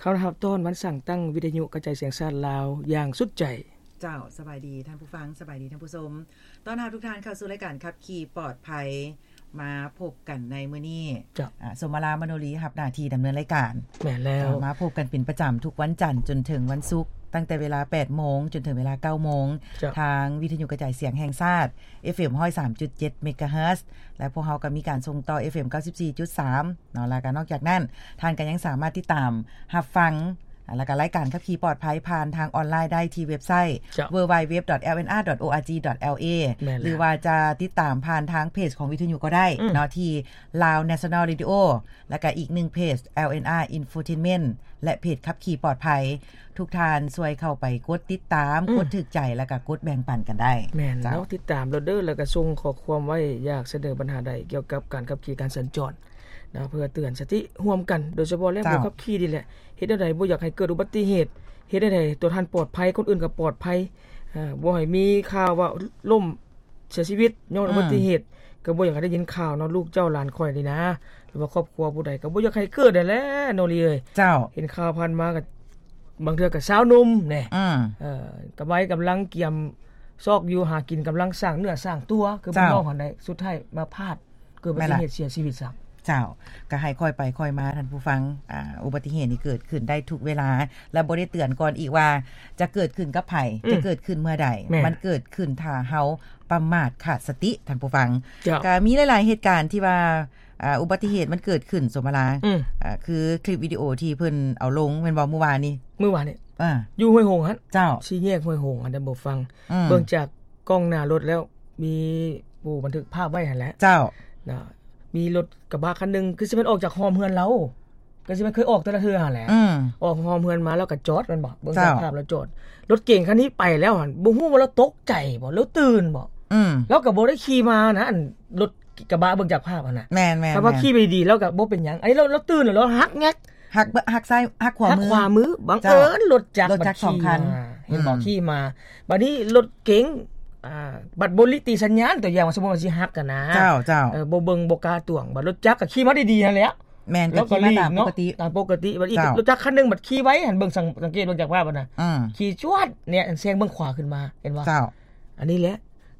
ເຮົາຮັບຕ້ອນວັນສ້າງຕັ້ງວິທະຍຸກະຈາຍສຽງແຫ່ງຊາດລາວຢ່າງສຸດໃຈ. ເຈົ້າ, ສະບາຍດີທ່ານຜູ້ຟັງ, ສະບາຍດີທ່ານຜູ້ຊົມ. ຕ້ອນຮັບທຸກທ່ານເຂົ້າສູ່ລາຍການຂັບຂີ່ປອດໄພ. ມາພົບກັນໃນມື້ນີ້ ເຈົ້າ. ອາ, ສົມມາລາ ມະໂນລີ ຮັບໜ້າທີ່ດຳເນີນລາຍການ. ແມ່ນແລ້ວ. ເຈົ້າ, ມາພົບກັນເປັນປະຈຳທຸກວັນຈັນຈົນເຖິງວັນສຸກ, ຕັ້ງແຕ່ເວລາແປດໂມງຈົນເຖິງເວລາເກົ້າໂມງ ເຈົ້າ. ທາງວິທະຍຸກະຈາຍສຽງແຫ່ງຊາດ ເອັຟເອັມ ຮ້ອຍສາມຈຸດເຈັດ ເມກາເຮີດ ແລະ ພວກເຮົາກໍມີການສົ່ງຕໍ່ ເອັຟເອັມ ເກົ້າສິບສີ່ຈຸດສາມ ເນາະ. ແລ້ວກໍນອກຈາກນັ້ນ ທ່ານກໍຍັງສາມາດຕິດຕາມຮັບຟັງ ແລ້ວກໍລາຍການຂັບຂີ່ປອດໄພຜ່ານທາງອອນລາຍໄດ້ທີ່ເວັບໄຊ ເຈົ້າ. ເວີ ດັບເບິນຢູ ດັບເບິນຢູ ດັບເບິນຢູ ດອດ ໂອ ອາ ຈີ ດອດ ແອລ ເອ ແມ່ນແລ້ວ. ຫຼືວ່າຈະຕິດຕາມຜ່ານທາງເພຈຂອງວິທະຍຸກໍໄດ້ ອືມ ເນາະ ທີ່ Lao National Radio ແລ້ວກໍອີກໜຶ່ງເພຈ ແອລ ເອັນ ອາ Infotainment ແລະ ເພຈຂັບຂີ່ປອດໄພ. ທຸກທ່ານຊ່ວຍເຂົ້າໄປກົດຕິດຕາມ ອືມ ກົດຖືກໃຈ ແລ້ວກໍກົດແບ່ງປັນກັນໄດ້. ແມ່ນ ເຈົ້າ. ເນາະ, ຕິດຕາມໂລດເດີ ແລ້ວກໍສົ່ງຂໍ້ຄວາມໄວ້ ຢາກສະເໜີບັນຫາໃດກ່ຽວກັບການຂັບຂີ່ການສັນຈອນ ນະ ເພື່ອເຕືອນສະຕິຮ່ວມກັນ ໂດຍສະເພາະແລ້ວ ເຈົ້າ. ຜູ້ຂັບຂີ່ນີ້ແຫຼະ ເຮັດແນວໃດບໍ່ຢາກໃຫ້ເກີດອຸບັດຕິເຫດ, ເຮັດແນວໃດຕົວທ່ານປອດໄພ ຄົນອື່ນກໍປອດໄພ, ເອີ ບໍ່ໃຫ້ມີຂ່າວວ່າລົ້ມເສຍຊີວິດຍ້ອນ ອືມ ອຸບັດຕິເຫດ. ກໍບໍ່ຢາກໃຫ້ໄດ້ຍິນຂ່າວເນາະ ລູກເຈົ້າຫຼານຂ້ອຍນີ້ນະ ຫຼືວ່າຄອບຄົວຜູ້ໃດ ກໍບໍ່ຢາກໃຫ້ເກີດຫັ້ນແຫຼະ ໂນລີເອີຍ. ເຈົ້າ. ເຫັນຂ່າວຜ່ານມາກໍບາງເທື່ອກໍຊາວໜຸ່ມແດ່ ອືມ ເອີ ກະໄວ້ກຳລັງກຽມຊອກຢູ່ຫາກິນ ກຳລັງສ້າງເນື້ອສ້າງຕົວ ຄື ເຈົ້າ ບ້ານນອກຫັ້ນໃດ ສຸດທ້າຍມາພາດ ເກີດອຸບັດຕິເຫດເສຍຊີວິດຊ້ຳ. ເຈົ້າ, ກໍໃຫ້ຄ່ອຍໄປຄ່ອຍມາທ່ານຜູ້ຟັງ. ອາ, ອຸບັດຕິເຫດນີ້ເກີດຂຶ້ນໄດ້ທຸກເວລາ ແລະ ບໍ່ໄດ້ເຕືອນກ່ອນອີກວ່າຈະເກີດຂຶ້ນກັບໃຜ, ອືມ ຈະເກີດຂຶ້ນເມື່ອໃດ. ແມ່ນ. ມັນເກີດຂຶ້ນຖ້າເຮົາປະໝາດຂາດສະຕິ, ທ່ານຜູ້ຟັງ. ເຈົ້າ. ກໍມີຫຼາຍໆເຫດການທີ່ວ່າ ອາ, ອຸບັດຕິເຫດມັນເກີດຂຶ້ນ, ສົມມາລາ. ອືມ. ອາ, ຄືຄລິບວິດີໂອທີ່ເພິ່ນເອົາລົງແມ່ນບໍ່ ມື້ວານນີ້? ມື້ວານນີ້. ອາ. ຢູ່ຫ້ວຍຫົງຫັ້ນ. ເຈົ້າ. ສີ່ແຍກຫ້ວຍຫົງຫັ້ນ, ທ່ານຜູ້ຟັງ. ອືມ. ເບິ່ງຈາກ ກ້ອງໜ້າລົດແລ້ວ ມີຜູ້ບັນທຶກພາບໄວ້ຫັ້ນແຫຼະ. ເຈົ້າ. ນະ ມີລົດກະບະຄັນໜຶ່ງ ຄືຊິແມ່ນອອກຈາກຮ່ອມເຮືອນລາວ, ກໍຊິແມ່ນເຄີຍອອກແຕ່ລະເທື່ອຫັ້ນແຫຼະ. ອືມ. ອອກຮ່ອມເຮືອນມາແລ້ວກໍຈອດແມ່ນບໍ່? ເບິ່ງຈາກ ເຈົ້າ ພາບແລ້ວຈອດ. ລົດເກງຄັນນີ້ໄປແລ້ວຫັ້ນ ບໍ່ຮູ້ວ່າລາວຕົກໃຈບໍ່ ຫຼືຕື່ນບໍ່? ອືມ. ລາວກໍບໍ່ໄດ້ຂີ່ມານະ ອັນລົດກະບະເບິ່ງຈາກພາບຫັ້ນນະ. ແມ່ນໆໆ. ຖ້າວ່າຂີ່ໄປດີໆ ລາວກໍບໍ່ເປັນຫຍັງ. ອັນນີ້ລາວ ລາວຕື່ນແລ້ວ ລາວຫັກແງກ ຫັກ ຫັກຊ້າຍ ຫັກຂວາມື. ຫັກຂວາມື ບັງເອີນ ເຈົ້າ ລົດຈັກ ລົດຈັກສອງຄັນ ມັນຂີ່ມາ ເຫັນບໍ່? ອືມ. ຂີ່ມາ ບາດນີ້ລົດເກັງ ອ່າ ບັດບໍ່ລິຕິສັນຍານ ຕົວຢ່າງວ່າ ສົມມຸດວ່າຊິຫັກຫັ້ນນະ. ເຈົ້າ ເຈົ້າ. ເອີ ບໍ່ເບິ່ງ ບໍ່ກ້າຕວງ ບັດລົດຈັກກໍຂີ່ມາດີໆຫັ້ນແຫຼະ. ແມ່ນ ກໍຂີ່ມາຕາມປົກກະຕິ ຕາມປົກກະຕິ. ບັດນີ້ ເຈົ້າ ລົດຈັກຄັນໜຶ່ງບັດຂີ່ໄວຫັ້ນ ເບິ່ງ ສັງ ສັງເກດເບິ່ງຈາກພາບຫັ້ນນະ. ອືມ. ຂີ່ຈວດແນະ ແຊງເບິ່ງຂວາຂຶ້ນມາ ເຫັນບໍ່? ເຈົ້າ. ອັນນີ້ແຫຼະ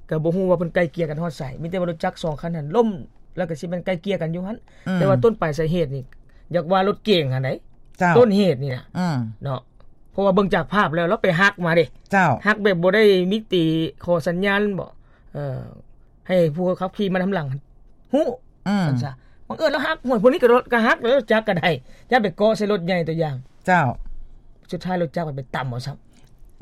ກໍບໍ່ຮູ້ວ່າເພິ່ນໄກ່ເກ່ຍກັນຮອດໃສ ມີແຕ່ວ່າລົດຈັກສອງຄັນຫັ້ນລົ້ມ ແລ້ວກໍຊິແມ່ນໄກ່ເກ່ຍກັນຢູ່ຫັ້ນ. ອືມ. ແຕ່ວ່າຕົ້ນປາຍສາເຫດນີ້ ຢາກວ່າລົດເກັງຫັ້ນໃດ໋. ເຈົ້າ. ຕົ້ນເຫດນີ້ນະ. ອືມ. ເນາະ ເພາະວ່າເບິ່ງຈາກພາບແລ້ວ ລາວໄປຫັກມາເດ້. ເຈົ້າ. ຫັກແບບບໍ່ໄດ້ມີຕິຂໍສັນຍານບໍ ເອີ ໃຫ້ຜູ້ຂັບຂີ່ມານຳຫຼັງຮູ້. ອືມ. ວ່າຊັ້ນຊະ ບັງເອີນລາວຫັກ ຫ້ວຍ ພວກນີ້ກໍ ກໍຫັກ ແລ້ວຈັກກໍໄດ້ ຢ່າໄປເກາະໃສ່ລົດໃຫຍ່ ຕົວຢ່າງ. ເຈົ້າ. ສຸດທ້າຍລົດຈັກມັນໄປຕຳເອົາຊ້ຳ.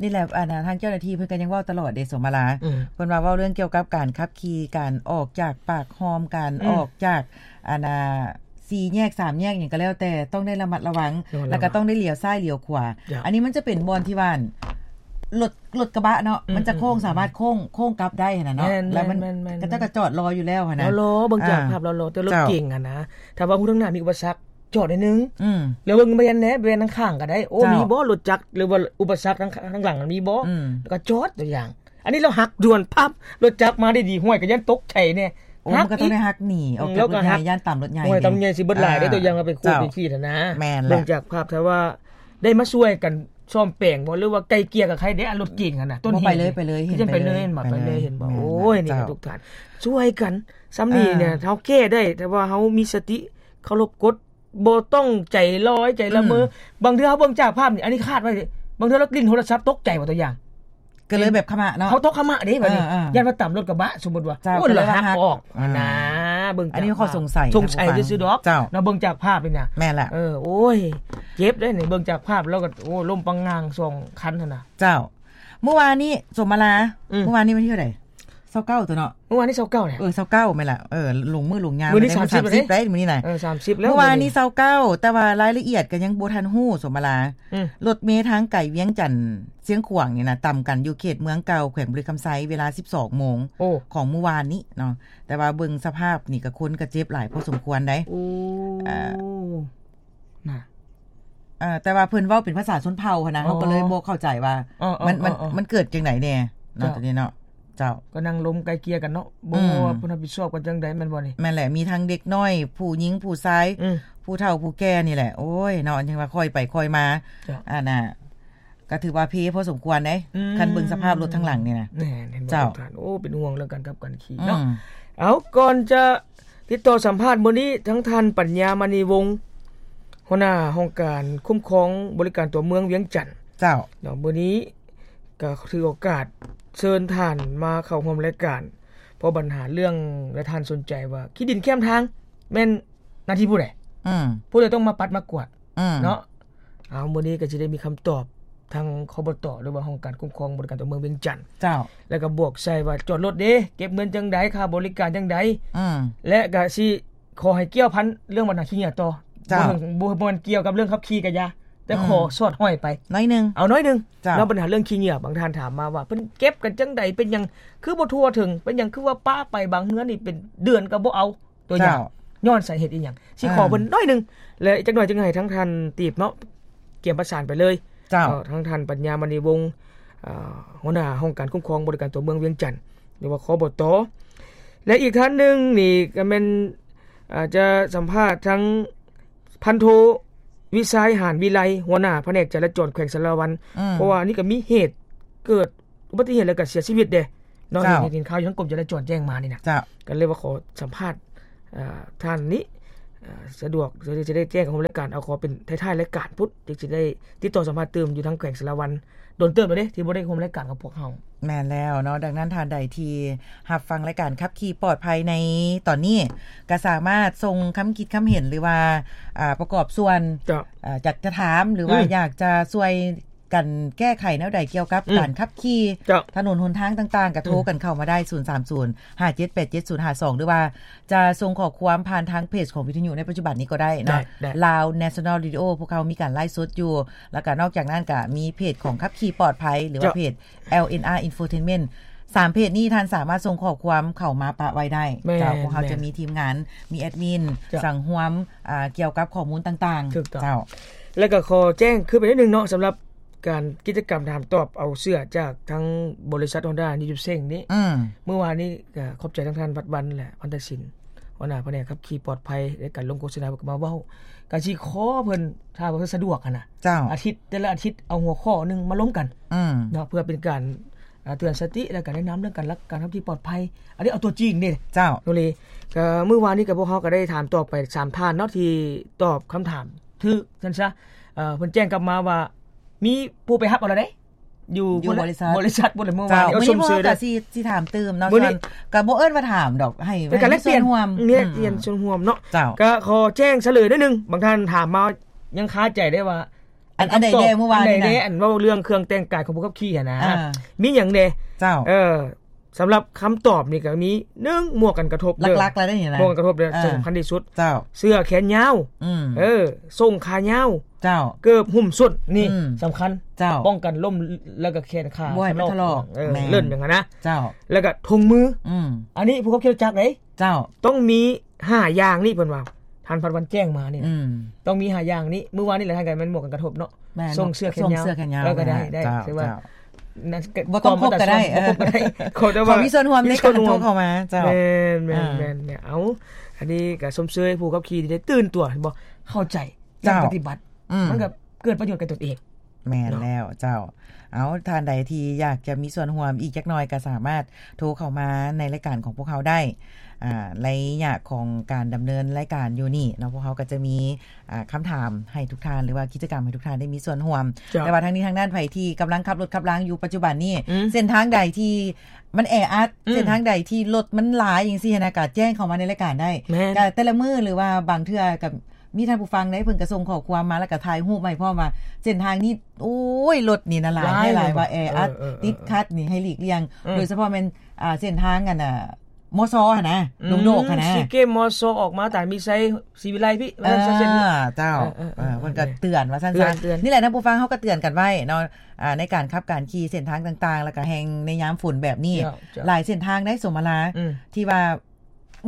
ນີ້ແຫຼະ ອັນນະ ທາງເຈົ້າໜ້າທີ່ເພິ່ນກໍຍັງເວົ້າຕະຫຼອດເດ້ ສົມມາລາ. ອືມ. ເພິ່ນວ່າເວົ້າເລື່ອງກ່ຽວກັບການຂັບຂີ່ ການອອກຈາກປາກຮ່ອມ ການ ອືມ ອອກຈາກ ອັນນະ ສີ່ແຍກ ສາມແຍກຫຍັງກໍແລ້ວແຕ່ ຕ້ອງໄດ້ລະມັດລະວັງ ລະມັດລະວັງ ແລ້ວກໍຕ້ອງໄດ້ຫຼຽວຊ້າຍຫຼຽວຂວາ. ເຈົ້າ. ອັນນີ້ມັນຈະເປັນບ່ອນທີ່ວ່າ ລົດ ລົດກະບະເນາະ ອືມ ມັນຈະໂຄ້ງ ອືມ ສາມາດໂຄ້ງ ໂຄ້ງກັບໄດ້ຫັ້ນນະເນາະ. ແມ່ນໆໆໆ. ແລ້ວມັນ ເຂົາເຈົ້າກໍຈອດລໍຢູ່ແລ້ວຫັ້ນນະ. ລໍໆ ເບິ່ງຈາກ ອ່າ ພາບລໍໆ ແຕ່ລົດ ເຈົ້າ ເກັງຫັ້ນນະ ຖ້າວ່າຮູ້ທາງໜ້າມີອຸປະສັກ ຈອດໜ້ອຍໜຶ່ງ. ອືມ. ແລ້ວເບິ່ງແວ່ນແດ່ ແວ່ນທາງຂ້າງກໍໄດ້. ໂອ້ ເຈົ້າ ມີບໍ່ລົດຈັກ ຫຼືວ່າອຸປະສັກທາງ ທາງຫຼັງມັນມີບໍ່? ອືມ. ແລ້ວກໍຈອດ ຕົວຢ່າງ. ອັນນີ້ລາວຫັກດ່ວນປັບ ລົດຈັກມາໄດ້ດີ ຫ້ວຍ ກໍຢ້ານຕົກໃຈແດ່. ໂອ້ ມັນກໍຕ້ອງໄດ້ຫັກໜີອອກຈາກລົດໃຫຍ່ ຢ້ານຕຳລົດໃຫຍ່ ຫ້ວຍ ຕຳລົດໃຫຍ່ຊິເບິດຫຼາຍເດ້ ຕົວຢ່າງວ່າໄປຂູດໄປຂີດຫັ້ນນະ. ແມ່ນແຫຼະ. ເບິ່ງຈາກພາບ ຖ້າວ່າໄດ້ມາຊ່ວຍກັນສ້ອມແປງບໍ່ ຫຼືວ່າໄກ່ເກ່ຍກັບໃຜເດ້ ອັນລົດເກັງຫັ້ນນະ ຕົ້ນເຫດ ໄປເລີຍ ໄປເລີຍ ເຫັນ ໄປເລີຍ ເຫັນບໍ່? ໄປເລີຍ ເຫັນບໍ່? ໂອ້ຍ ນີ້ທຸກທ່ານ ຊ່ວຍກັນ ສ່ຳນີ້ເນຍ ເຮົາແກ້ໄດ້ ຖ້າວ່າເຮົາມີສະຕິ ເຄົາລົບກົດ ບໍ່ຕ້ອງໃຈລອຍໃຈລະເມີ. ອືມ. ບາງເທື່ອເຮົາເບິ່ງຈາກພາບນີ້ ອັນນີ້ຄາດໄວ້ເດ້ ບາງເທື່ອລາວຫຼິ້ນໂທລະສັບຕົກໃຈບໍ່ ຕົວຢ່າງ ກໍເລີຍແບບຂະມະເນາະ. ເຮົາຕົກຂະມະເດ້ບັດນີ້ ຢ້ານວ່າຕຳລົດກະບະ ສົມມຸດວ່າ ໂອ້ ລະຫັກອອກຫັ້ນນະ. ເບິ່ງຈາກ ອັນນີ້ເຮົາຂໍສົງໄສ ສົງໄສຊື່ໆດອກເນາະ ເບິ່ງຈາກພາບນີ້ນະ. ແມ່ນລະ. ເອີ ໂອ້ຍ ເຈັບເດ້ນີ້ ເບິ່ງຈາກພາບແລ້ວກໍ ໂອ້ ລົ້ມປັງງາງສອງຄັນຫັ້ນນະ. ເຈົ້າ. ມື້ວານນີ້ ສົມມາລາ ອືມ ມື້ວານນີ້ວັນທີເທົ່າໃດ? ຊາວເກົ້າຕົວເນາະ ມື້ວານນີ້ຊາວເກົ້າແຫຼະ. ເອີ ຊາວເກົ້າແມ່ນລະ. ເອີ ລົງມື້ລົງຍາມ ມື້ນີ້ ວັນທີສາມສິບ ສາມສິບໄດ້ມື້ນີ້ນະ. ເອີ ສາມສິບແລ້ວ. ມື້ວານນີ້ຊາວເກົ້າ ແຕ່ວ່າລາຍລະອຽດກໍຍັງບໍ່ທັນຮູ້ ສົມມາລາ. ອືມ. ລົດເມທາງໄກວຽງຈັນຊຽງຂວາງນີ້ນະ ຕຳກັນຢູ່ເຂດເມືອງເກົ່າ ແຂວງບໍລິຄຳໄຊ ເວລາສິບສອງໂມງ ໂອ້ ຂອງມື້ວານນີ້ເນາະ. ແຕ່ວ່າເບິ່ງສະພາບນີ້ກໍຄົນກໍເຈັບຫຼາຍພໍສົມຄວນໄດ໋. ໂອ້ ເອີ ນະ ເອີ ແຕ່ວ່າເພິ່ນເວົ້າເປັນພາສາຊົນເຜົ່າຫັ້ນນະ ເຮົາກໍເລີຍບໍ່ເຂົ້າໃຈວ່າ ເອີ ມັນ ເອີ ມັນ ເອີ ມັນເກີດຈັ່ງໃດແດ່ເນາະ ຕົວນີ້ເນາະ. ເຈົ້າ ກໍນັ່ງລົມໄກ່ເກ່ຍກັນເນາະ ບໍ່ ອືມ ຮູ້ວ່າເພິ່ນຮັບຜິດຊອບກັນຈັ່ງໃດ ແມ່ນບໍ່ນີ້? ແມ່ນແຫຼະ ມີທັງເດັກນ້ອຍ ຜູ້ຍິງ ຜູ້ຊາຍ ອືມ ຜູ້ເຖົ້າ ຜູ້ແກ່ນີ້ແຫຼະ ໂອ້ຍເນາະ ຍັງວ່າຄ່ອຍໄປຄ່ອຍມາ ເຈົ້າ ອັນນ່າ ກໍຖືວ່າເພພໍສົມຄວນເດ້ ອືມ ຄັນເບິ່ງສະພາບລົດທາງຫຼັງນີ້ນະ ແມ່ນ ເຫັນບໍ່ ເຈົ້າ ທ່ານ ໂອ້ ເປັນຫ່ວງເລື່ອງການຂັບການຂີ່ເນາະ ອືມ ເອົາ ກ່ອນຈະຕິດຕໍ່ສຳພາດມື້ນີ້ ທັງທ່ານ ປັນຍາ ມະນີວົງ ຫົວໜ້າຫ້ອງການຄຸ້ມຄອງບໍລິການຕົວເມືອງວຽງຈັນ ເຈົ້າ ເນາະ ມື້ນີ້ ກໍຖືໂອກາດເຊີນທ່ານມາເຂົ້າຮ່ວມລາຍການ ເພາະບັນຫາເລື່ອງ ແລະ ທ່ານສົນໃຈວ່າ ຂີ້ດິນແຄມທາງແມ່ນໜ້າທີ່ຜູ້ໃດ? ອືມ ຜູ້ໃດຕ້ອງມາປັດມາກວາດ ອືມ ເນາະ ເອົາ ມື້ນີ້ກໍຊິໄດ້ມີຄຳຕອບທາງ ຄບຕ ຫຼືວ່າຫ້ອງການຄຸ້ມຄອງບໍລິການຕົວເມືອງວຽງຈັນ ເຈົ້າ ແລ້ວກໍບວກໃສ່ວ່າຈອດລົດເດ້ ເກັບເງິນຈັ່ງໃດ ຄ່າບໍລິການຈັ່ງໃດ ອືມ ແລະ ກໍຊິຂໍໃຫ້ກ່ຽວພັນເລື່ອງບັນຫາຂີ້ເຫຍື້ອຕໍ່ ເຈົ້າ ບໍ່ເຖິງ ບໍ່ ບໍ່ແມ່ນກ່ຽວກັບເລື່ອງຂັບຂີ່ກໍຢ່າ ແຕ່ ອືມ ຂໍສອດຫ້ອຍໄປໜ້ອຍໜຶ່ງ ເອົາໜ້ອຍໜຶ່ງ ເຈົ້າ ເນາະ ບັນຫາເລື່ອງຂີ້ເຫຍື້ອ ບາງທ່ານຖາມມາວ່າ ເພິ່ນເກັບກັນຈັ່ງໃດ ເປັນຫຍັງຄືບໍ່ທົ່ວເຖິງ ເປັນຫຍັງຄືວ່າປະໄປ ບາງເຮືອນນີ້ເປັນເດືອນກໍບໍ່ເອົາ ຕົວຢ່າງ ເຈົ້າ ຍ້ອນສາເຫດອີ່ຫຍັງ ຊິຂໍ ອ່າ ເພິ່ນໜ້ອຍໜຶ່ງ ແລະ ອີກຈັກໜ້ອຍຈຶ່ງໃຫ້ທາງທ່ານຕີບເນາະ ກຽມປະສານໄປເລີຍ ເຈົ້າ ເອີ ທາງທ່ານ ປັນຍາ ມະນີວົງ ເອີ ຫົວໜ້າຫ້ອງການຄຸ້ມຄອງບໍລິການຕົວເມືອງວຽງຈັນ ຫຼືວ່າ ຄບຕ ແລະ ອີກທ່ານໜຶ່ງນີ້ກໍແມ່ນ ອາດຈະສຳພາດທາງ ພັນໂທ ວິໄຊ ຫານວິໄລ ຫົວໜ້າພະແນກຈະລາຈອນແຂວງສາລະວັນ ອືມ ເພາະວ່າອັນນີ້ກໍມີເຫດເກີດອຸບັດຕິເຫດ ແລ້ວກໍເສຍຊີວິດເດ້ເນາະ ເຈົ້າ ເຫັນ ເຫັນຂ່າວຢູ່ທາງກົມຈະລາຈອນແຈ້ງມານີ້ນະ ເຈົ້າ ກໍເລີຍວ່າຂໍສຳພາດ ເອີ ທ່ານນີ້ ເອີ ສະດວກ ຈະໄດ້ ຈະໄດ້ແຈ້ງຂອງລາຍການ ເອົາຂໍເປັນທ້າຍໆລາຍການພຸ້ນ ຈຶ່ງຊິໄດ້ຕິດຕໍ່ສຳພາດຕື່ມຢູ່ທາງແຂວງສາລະວັນ ດົນເຕີບແລ້ວເດ້ ທີ່ບໍ່ໄດ້ຮ່ວມລາຍການກັບພວກເຮົາ. ແມ່ນແລ້ວເນາະ ດັ່ງນັ້ນທ່ານໃດທີ່ຮັບຟັງລາຍການຂັບຂີ່ປອດໄພໃນຕອນນີ້ ກໍສາມາດສົ່ງຄຳຄິດຄຳເຫັນ ຫຼືວ່າ ອ່າ ປະກອບສ່ວນ ເຈົ້າ ອ່າ ຢາກຈະຖາມ ຫຼືວ່າ ອືມ ຢາກຈະຊ່ວຍກັນແກ້ໄຂແນວໃດກ່ຽວກັບ ອືມ ການຂັບຂີ່ ເຈົ້າ ຖະໜົນຫົນທາງຕ່າງໆ ກໍໂທ ອືມ ກັນເຂົ້າມາໄດ້ ສູນສາມສູນ ຫ້າເຈັດແປດເຈັດສູນຫ້າສອງ ຫຼືວ່າຈະສົ່ງຂໍ້ຄວາມຜ່ານທາງເພຈຂອງວິທະຍຸໃນປັດຈຸບັນນີ້ກໍໄດ້ເນາະ ໄດ້ ໄດ້ Lao National Radio ພວກເຮົາມີການໄລຟ໌ສົດຢູ່ ແລ້ວກໍນອກຈາກນັ້ນກໍມີເພຈຂອງຂັບຂີ່ປອດໄພ ຫຼືວ່າ ເຈົ້າ ເພຈ ແອລເອັນອາ Infotainment ສາມເພຈນີ້ທ່ານສາມາດສົ່ງຂໍ້ຄວາມເຂົ້າມາປະໄວ້ໄດ້ ແມ່ນ ເຈົ້າ ພວກເຮົາ ແມ່ນ ຈະມີທີມງານ ມີແອດມິນ ເຈົ້າ ສັງຮວມ ອ່າ ກ່ຽວກັບຂໍ້ມູນຕ່າງໆ ຖືກຕ້ອງ ເຈົ້າ ແລ້ວກໍຂໍແຈ້ງຄືນໄປໜ້ອຍໜຶ່ງເນາະ ສຳລັບການກິດຈະກຳຖາມຕອບເອົາເສື້ອຈາກທາງບໍລິສັດ Honda ນິວເຊັງນີ້ ອືມ ມື້ວານນີ້ກໍຂອບໃຈທາງທ່ານ ວັດວັນ ແລະ ພັນຕະສິນ ຫົວໜ້າພະແນກຂັບຂີ່ປອດໄພ ໃນການລົງໂຄສະນາ ເພິ່ນກໍມາເວົ້າ ກໍຊິຂໍເພິ່ນ ຖ້າວ່າເພິ່ນສະດວກຫັ້ນນະ ເຈົ້າ ອາທິດ ແຕ່ລະອາທິດເອົາຫົວຂໍ້ໜຶ່ງມາລົມກັນ ອືມ ເນາະ ເພື່ອເປັນການ ອ່າ ເຕືອນສະຕິ ແລ້ວກໍແນະນຳເລື່ອງການລັກ ການຂັບຂີ່ປອດໄພ ອັນນີ້ເອົາຕົວຈິງເດ້ ເຈົ້າ ໂດຍ ກໍມື້ວານນີ້ກໍພວກເຮົາກໍໄດ້ຖາມຕອບໄປສາມທ່ານເນາະ ທີ່ຕອບຄຳຖາມຖືກຊັ້ນຊະ ເອີ ເພິ່ນແຈ້ງກັບມາວ່າ ມີຜູ້ໄປຮັບເອົາແລ້ວເດ້ ຢູ່ ຢູ່ບໍລິສັດ ບໍລິສັດພຸ້ນແຫຼະ ມື້ວານນີ້ ເຈົ້າ ເອົາ ມື້ນີ້ ຊົມເຊີຍເດີ ກໍຊິ ຊິຖາມຕື່ມເນາະ ມື້ນີ້ ສ່ວນ ກໍບໍ່ເອີ້ນວ່າຖາມດອກ ໃຫ້ ເປັນການແລກປ່ຽນ ໃຫ້ມີສ່ວນຮ່ວມ ແລກປ່ຽນ ອືມ ສ່ວນຮ່ວມເນາະ ເຈົ້າ ກໍຂໍແຈ້ງສະເຫຼີຍໜ້ອຍໜຶ່ງ ບາງທ່ານຖາມມາຍັງຄາໃຈເດ້ວ່າ ອັນ ອັນໃດແດ່ ມື້ວານນີ້ນະ ອັນເວົ້າເລື່ອງເຄື່ອງແຕ່ງກາຍຂອງຜູ້ຂັບຂີ່ຫັ້ນນະ ອ່າ ມີຫຍັງແດ່ ເຈົ້າ ເອີ ສຳລັບຄຳຕອບນີ້ກໍມີ ໜຶ່ງ ໝວກກັນກະທົບເດີ ຫຼັກໆແລ້ວນີ້ນະ ໝວກກັນກະທົບເດີ ເອີ ສຳຄັນທີ່ສຸດ ເຈົ້າ ເສື້ອແຂນຍາວ ອືມ ເອີ ສົ້ງຂາຍາວ ເຈົ້າ ເກີບຫຸ້ມສົ້ນ ນີ້ ອືມ ສຳຄັນ ເຈົ້າ ປ້ອງກັນລົ້ມ ແລ້ວກໍແຂນຂາ ບໍ່ໃຫ້ມັນຖະຫຼອກ ເອີ ແມ່ນ ເລີ້ນຫຍັງຫັ້ນນະ ເຈົ້າ ແລ້ວກໍຖົງມື ອືມ ອັນນີ້ຜູ້ຂັບຂີ່ລົດຈັກເດ້ ເຈົ້າ ຕ້ອງມີຫ້າຢ່າງນີ້ ເພິ່ນວ່າ ທ່ານພັນວັນແຈ້ງມານີ້ນະ ອືມ ຕ້ອງມີຫ້າຢ່າງນີ້ ມື້ວານນີ້ແຫຼະ ທ່ານກໍແມ່ນໝວກກັນກະທົບເນາະ ແມ່ນ ສົ່ງເສື້ອແຂນຍາວ ສົ່ງເສື້ອແຂນຍາວ ເອີ ກໍໄດ້ ໄດ້ ເຈົ້າ ຖືວ່າ ເຈົ້າ ນະ ບໍ່ຕ້ອງຄົບກໍໄດ້ ເອີ ບໍ່ຕ້ອງຄົບກໍໄດ້ ເອີ ຂໍແຕ່ວ່າມີສ່ວນຮ່ວມໃນການໂທເຂົ້າມາ ເຈົ້າ ແມ່ນ ແມ່ນ ອ່າ ແມ່ນ ເອົາ ອັນນີ້ກໍຊົມເຊີຍຜູ້ຂັບຂີ່ທີ່ໄດ້ຕື່ນຕົວ ເຫັນບໍ່ ເຂົ້າໃຈ ເຈົ້າ ແລະ ປະຕິບັດ ອືມ ມັນກໍເກີດປະໂຫຍດແກ່ຕົນເອງ ແມ່ນແລ້ວ ເຈົ້າ ເອົາ ທ່ານໃດທີ່ຢາກຈະມີສ່ວນຮ່ວມອີກຈັກໜ້ອຍ ກໍສາມາດໂທເຂົ້າມາໃນລາຍການຂອງພວກເຮົາໄດ້ ອ່າ ໄລຍະຂອງການດຳເນີນລາຍການຢູ່ນີ້ເນາະ ພວກເຮົາກໍຈະມີ ອ່າ ຄຳຖາມໃຫ້ທຸກທ່ານ ຫຼືວ່າກິດຈະກຳໃຫ້ທຸກທ່ານໄດ້ມີສ່ວນຮ່ວມ ເຈົ້າ ແຕ່ວ່າທັງນີ້ທັງນັ້ນ ໃຜທີ່ກຳລັງຂັບລົດຂັບລາຢູ່ປັດຈຸບັນນີ້ ອືມ ເສັ້ນທາງໃດທີ່ມັນແອອັດ ອືມ ເສັ້ນທາງໃດທີ່ລົດມັນຫຼາຍຈັ່ງຊີ້ຫັ້ນນະ ກໍແຈ້ງເຂົ້າມາໃນລາຍການໄດ້ ແມ່ນ ກໍແຕ່ລະມື້ ຫຼືວ່າບາງເທື່ອກໍ ມີທ່ານຜູ້ຟັງເດ້ ເພິ່ນກໍສົ່ງຂໍ້ຄວາມມາ ແລ້ວກໍຖ່າຍຮູບມາໃຫ້ພ້ອມວ່າ ເສັ້ນທາງນີ້ ໂອ້ຍ ລົດນີ້ນະຫຼາຍ ຫຼາຍ ຫຼາຍວ່າແອອັດ ເອີ ເອີ ເອີ ຕິດຂັດນີ້ໃຫ້ຫຼີກລ່ຽງ ເອີ ໂດຍສະເພາະແມ່ນ ອ່າ ເສັ້ນທາງອັນນ່າ ມຊ ຫັ້ນນະ ອືມ ດົງໂດກຫັ້ນນະ ຊີເກມ ມຊ ອອກມາຕາຍມີໄຊ ສີວິໄລພີ້ ວ່າຊັ້ນຊະ ເອີ ເຈົ້າ ເອີ ເອີ ເອີ ເອີ ເພິ່ນກໍເຕືອນວ່າຊັ້ນຊະ ເຕືອນ ເຕືອນ ນີ້ແຫຼະ ທ່ານຜູ້ຟັງ ເຮົາກໍເຕືອນກັນໄວ້ເນາະ ອ່າ ໃນການຂັບການຂີ່ເສັ້ນທາງຕ່າງໆ ແລ້ວກໍແຮ່ງໃນຍາມຝົນແບບນີ້ ເຈົ້າ ເຈົ້າ ຫຼາຍເສັ້ນທາງໄດ໋ ສົມມະລາ ອືມ ທີ່ວ່າ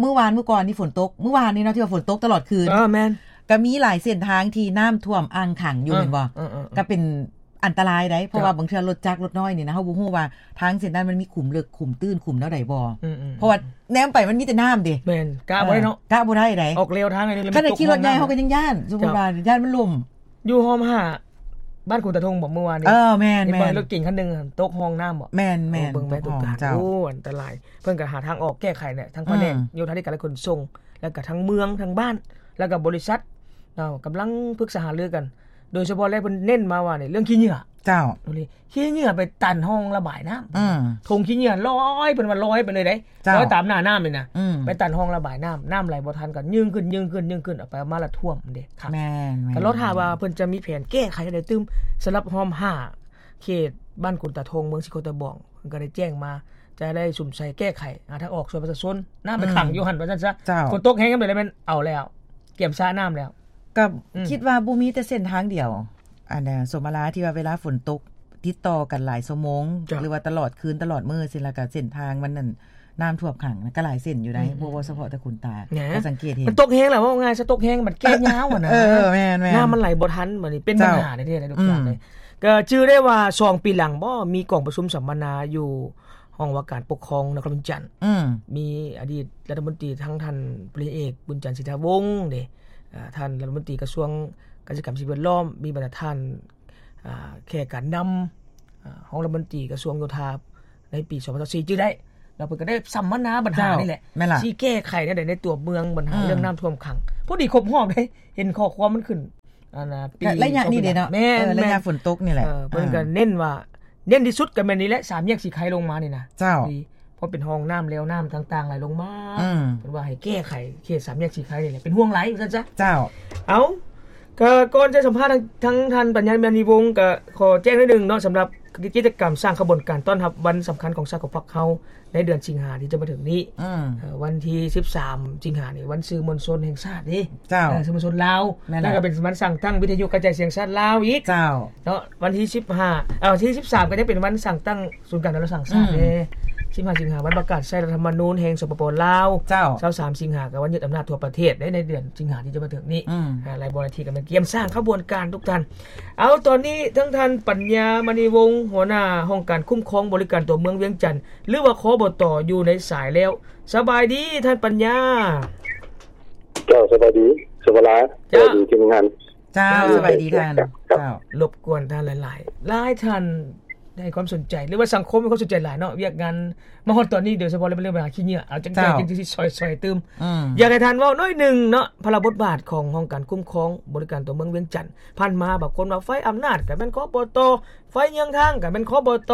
ມື້ວານ ມື້ກ່ອນນີ້ຝົນຕົກ ມື້ວານນີ້ເນາະ ທີ່ວ່າຝົນຕົກຕະຫຼອດຄືນ ເອີ ແມ່ນ ກໍມີຫຼາຍເສັ້ນທາງທີ່ນ້ຳຖ້ວມອ່າງຂັງຢູ່ ເອີ ແມ່ນບໍ່ ເອີ ເອີ ເອີ ກໍເປັນ ອັນຕະລາຍໃດ໋ ເພາະວ່າບາງເທື່ອລົດຈັກລົດນ້ອຍນີ້ນະ ເຮົາບໍ່ຮູ້ວ່າທາງເສັ້ນນັ້ນມັນມີຂຸມເລິກຂຸມຕື້ນຂຸມແນວໃດບໍ່ ເພາະວ່າແນມໄປມັນມີແຕ່ນ້ຳເດ້ ແມ່ນ ກະບໍ່ໄດ້ເນາະ ເອີ ກະບໍ່ໄດ້ໃດ໋ ອອກແລວທາງອັນນີ້ ຄັນໄດ້ຂີ່ລົດໃຫຍ່ເຮົາກໍຍັງຢ້ານ ສົມມຸດວ່າຢ້ານມັນລົ້ມ ຢູ່ຮ່ອມຫ້າ ບ້ານຂຸນຕາທົ່ງບໍ່ ມື້ວານນີ້ ເອີ ແມ່ນໆ ເຫັນບໍ່ ລົດເກັງຄັນໜຶ່ງຕົກຮ່ອງນ້ຳບໍ່ ແມ່ນໆ ເບິ່ງແມ່ ຕົກຮ່ອງ ໂອ້ ອັນຕະລາຍ ເພິ່ນກໍຫາທາງອອກແກ້ໄຂແຫຼະ ທາງພະແນກ ອືມ ໂຍທາທິການ ແລະ ຂົນສົ່ງ ແລ້ວກໍທາງເມືອງ ທາງບ້ານ ແລ້ວກໍບໍລິສັດເນາະ ກຳລັງປຶກສາຫາລືກັນ ໂດຍສະເພາະແລ້ວເພິ່ນເນັ້ນມາວ່ານີ້ ເລື່ອງຂີ້ເຫຍື້ອ ເຈົ້າ ໂອ້ ຂີ້ເຫຍື້ອໄປຕັນຮ່ອງລະບາຍນ້ຳ ອືມ ຖົງຂີ້ເຫຍື້ອລອຍ ເພິ່ນວ່າລອຍໄປເລີຍເດ້ ເຈົ້າ ລອຍຕາມໜ້ານ້ຳນີ້ນະ ອືມ ໄປຕັນຮ່ອງລະບາຍນ້ຳ ນ້ຳໄຫຼບໍ່ທັນກໍຍື່ນຂຶ້ນ ຍື່ນຂຶ້ນ ຂຶ້ນ ເອົາໄປເອົາມາລະຖ້ວມເດ້ ຄັກ ແມ່ນໆ ກໍລໍຖ້າວ່າເພິ່ນຈະມີແຜນແກ້ໄຂຈັ່ງໃດຕື່ມ ສຳລັບຮ່ອມຫ້າ ເຂດບ້ານກຸນຕາທົ່ງ ເມືອງສີໂຄດຕະບອງ ເພິ່ນກໍໄດ້ແຈ້ງມາ ຈະໄດ້ສຸມໃສ່ແກ້ໄຂ ຫາທາງອອກຊ່ວຍປະຊາຊົນ ນ້ຳໄປ ອືມ ຂັງຢູ່ຫັ້ນ ວ່າຊັ້ນຊະ ເຈົ້າ ຝົນຕົກແຮງຍາມໃດແລ້ວແມ່ນເອົາແລ້ວ ກຽມສະນ້ຳແລ້ວ ກໍ ອືມ ຄິດວ່າບໍ່ມີແຕ່ເສັ້ນທາງດຽວ ອັນນ່າ ສົມມາລາ ທີ່ວ່າເວລາຝົນຕົກຕິດຕໍ່ກັນຫຼາຍຊົ່ວໂມງ ເຈົ້າ ຫຼືວ່າຕະຫຼອດຄືນຕະຫຼອດມື້ຊີ້ ແລ້ວກໍເສັ້ນທາງມັນນັ້ນ ນ້ຳຖ້ວມຂັງນະ ກໍຫຼາຍເສັ້ນຢູ່ໃດ໋ ອືມໆ ບໍ່ວ່າສະເພາະແຕ່ຂຸນຕາ ແໝ່ ກໍສັງເກດເຫັນ ມັນຕົກແຮງແລ້ວ ເວົ້າງ່າຍຊະ ຕົກແຮງມັນແກ້ຍາວຫັ້ນນະ ເອີ ແມ່ນໆ ນ້ຳມັນໄຫຼບໍ່ທັນ ບັດນີ້ເປັນ ເຈົ້າ ບັນຫາແທ້ໆ ທຸກຢ່າງເລີຍ ອືມ ກໍຈື່ໄດ້ວ່າສອງປີຫຼັງບໍ່ ມີກອງປະຊຸມສຳມະນາຢູ່ຫ້ອງວ່າການປົກຄອງນະຄອນຫຼວງວຽງຈັນ ອືມ ມີອະດີດລັດຖະມົນຕີທັງທ່ານ ພົນເອກ ບຸນຈັນ ສີທາວົງ ເດ້ ອາ ທ່ານລັດຖະມົນຕີກະຊວງກະສິກຳ ສິ່ງແວດລ້ອມ ມີບັນດາທ່ານ ອາ ແຂກການນຳ ອາ ຮອງລັດຖະມົນຕີກະຊວງໂຍທາໃນປີສອງພັນຊາວສີ່ ຈື່ໄດ້ ແລ້ວເພິ່ນກໍໄດ້ສຳມະນາບັນຫາ ເຈົ້າ ນີ້ແຫຼະ ແມ່ນລະ ຊິແກ້ໄຂແນວໃດໃນຕົວເມືອງ ບັນຫາ ອືມ ເລື່ອງນ້ຳຖ້ວມຂັງ ພໍດີຄົບຮອບເດ້ ເຫັນຂໍ້ຄວາມມັນຂຶ້ນ ອັນນ່າ ປີ ໄລຍະນີ້ເດ້ເນາະ ແມ່ນ ເອີ ໄລຍະຝົນຕົກນີ້ແຫຼະ ເອີ ເພິ່ນກໍ ອ່າ ເນັ້ນວ່າ ເນັ້ນທີ່ສຸດກໍແມ່ນນີ້ແຫຼະ ສາມແຍກສີໄຄລົງມານີ້ນະ ເຈົ້າ ທີ່ ເພາະເປັນຮ່ອງນ້ຳແລ້ວ ນ້ຳຕ່າງໆໄຫຼລົງມາ ອືມ ເພິ່ນວ່າໃຫ້ແກ້ໄຂເຂດສາມແຍກສີໄຄນີ້ແຫຼະ ເປັນຫ່ວງຫຼາຍວ່າຊັ້ນຊະ ເຈົ້າ ເອົາ ກໍກ່ອນຈະສຳພາດທາງ ທາງທ່ານປັນຍາ ມະນີວົງ ກໍຂໍແຈ້ງໜ້ອຍໜຶ່ງເນາະ ສຳລັບກິດຈະກຳສ້າງຂະບວນການຕ້ອນຮັບວັນສຳຄັນຂອງຊາດຂອງພັກເຮົາ ໃນເດືອນສິງຫາທີ່ຈະມາເຖິງນີ້ ອືມ ເອີ ວັນທີສິບສາມ ສິງຫານີ້ ວັນສື່ມວນຊົນແຫ່ງຊາດເດ້ ເຈົ້າ ເອີ ສື່ມວນຊົນລາວ ແມ່ນແລ້ວ ແລ້ວກໍເປັນວັນສ້າງຕັ້ງວິທະຍຸກະຈາຍສຽງຊາດລາວອີກ ເຈົ້າ ເນາະ ວັນທີສິບຫ້າ ເອີ ທີສິບສາມ ກໍຈະເປັນວັນສ້າງຕັ້ງສູນກາງດາລາວສ້າງຊາດ ອືມ ເດ້ ສິບຫ້າ ສິງຫາ ວັນປະກາດໃຊ້ລັດຖະທຳມະນູນແຫ່ງ ສປປ ລາວ ເຈົ້າ ຊາວສາມ ສິງຫາ ກໍວັນຍຶດອຳນາດທົ່ວປະເທດເດ້ ໃນເດືອນສິງຫາທີ່ຈະມາເຖິງນີ້ ອືມ ອາ ຫຼາຍບ່ອນຫຼາຍທີ່ກໍແມ່ນກຽມສ້າງຂະບວນການທຸກທ່ານ ເອົາ ຕອນນີ້ທາງທ່ານປັນຍາ ມະນີວົງ ຫົວໜ້າຫ້ອງການຄຸ້ມຄອງບໍລິການຕົວເມືອງວຽງຈັນ ຫຼືວ່າ ຄບຕ ຢູ່ໃນສາຍແລ້ວ ສະບາຍດີທ່ານປັນຍາ ເຈົ້າ ສະບາຍດີ ສຸວາລາ ເຈົ້າ ສະບາຍດີທີມງານ ເຈົ້າ ເຈົ້າ ສະບາຍດີທ່ານ ເຈົ້າ ເຈົ້າ ລົບກວນທ່ານຫຼາຍໆ ຫຼາຍທ່ານໃຫ້ຄວາມສົນໃຈ ຫຼືວ່າສັງຄົມໃຫ້ຄວາມສົນໃຈຫຼາຍເນາະ ວຽກງານມາຮອດຕອນນີ້ ໂດຍສະເພາະເລື່ອງບັນຫາຂີ້ເຫຍື້ອ ເອົາຈັ່ງໃດ ເຈົ້າ ຈຶ່ງຊິຊ່ອຍໆຕື່ມ ອືມ ຢາກໃຫ້ທ່ານເວົ້າໜ້ອຍໜຶ່ງເນາະ ພາລະບົດບາດຂອງຫ້ອງການຄຸ້ມຄອງບໍລິການຕົວເມືອງວຽງຈັນ ຜ່ານມາບາງຄົນວ່າໄຟອຳນາດກໍແມ່ນ ຄບຕ ໄຟເຍືອງທາງກໍແມ່ນ ຄບຕ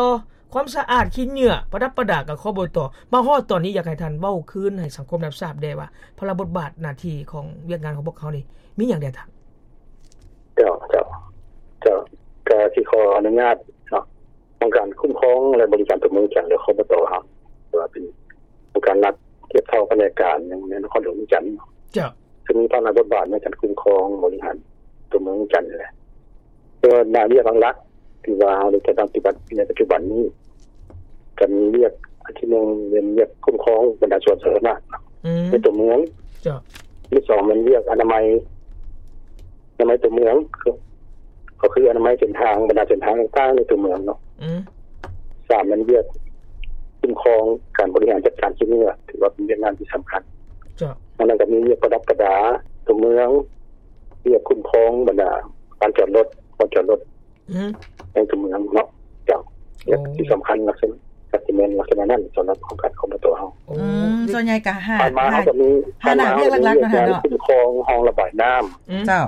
ຄວາມສະອາດ ຂີ້ເຫຍື້ອ ປະດັບປະດາກໍ ຄບຕ ມາຮອດຕອນນີ້ ຢາກໃຫ້ທ່ານເວົ້າຄືນໃຫ້ສັງຄົມຮັບຊາບແດ່ວ່າ ພາລະບົດບາດໜ້າທີ່ຂອງວຽກງານຂອງພວກເຮົານີ້ ມີຫຍັງແດ່ທ່ານ? ເຈົ້າ ເຈົ້າ ເຈົ້າ ກະຊິຂໍອະນຸຍາດເນາະ ຫ້ອງການຄຸ້ມຄອງ ແລະ ບໍລິການຕົວເມືອງວຽງຈັນ ຫຼື ຄບຕ ເຮົາ ວ່າເປັນອົງການລັດທຽບເທົ່າພະແນກການ ໃນນະຄອນຫຼວງວຽງຈັນ ເຈົ້າ ຊຶ່ງມີພາລະບົດບາດໃນການຄຸ້ມຄອງບໍລິຫານຕົວເມືອງວຽງຈັນນີ້ແຫຼະ ແຕ່ວ່າໜ້າວຽກຫຼັກໆ ທີ່ວ່າເຮົາໄດ້ຈັດຕັ້ງປະຕິບັດໃນປັດຈຸບັນນີ້ ກໍມີວຽກອັນທີໜຶ່ງ ແມ່ນວຽກຄຸ້ມຄອງບັນດາສວນສາທາລະນະ ອືມ ໃນຕົວເມືອງ ເຈົ້າ ອັນທີສອງ ແມ່ນວຽກອະນາໄມ ອະນາໄມຕົວເມືອງ ກໍ ກໍຄືອະນາໄມເສັ້ນທາງ ບັນດາເສັ້ນທາງຕ່າງໆໃນຕົວເມືອງເນາະ ອືມ ສາມ ແມ່ນວຽກຄຸ້ມຄອງການບໍລິຫານຈັດການຂີ້ເຫຍື້ອ ຖືວ່າເປັນວຽກງານທີ່ສຳຄັນ ເຈົ້າ ນອກນັ້ນກໍມີວຽກປະດັບປະດາຕົວເມືອງ ວຽກຄຸ້ມຄອງບັນດາລານຈອດລົດ ບ່ອນຈອດລົດ ອືມ ໃນຕົວເມືອງເນາະ ເຈົ້າ ໂອ້ ທີ່ສຳຄັນລັກສະນະ ກໍຈະແມ່ນລັກສະນະນັ້ນ ສຳລັບໂຄງການຂອງ ຄບຕ ເຮົາ ໂອ້ ອືມ ສ່ວນໃຫຍ່ກໍຫ້າ ຜ່ານມາເຮົາກໍມີ ຫ້າ ຫ້າໜ້າວຽກຫຼັກໆນັ້ນແຫຼະເນາະ ຄຸ້ມຄອງຮ່ອງລະບາຍນ້ຳ ອືມ ເຈົ້າ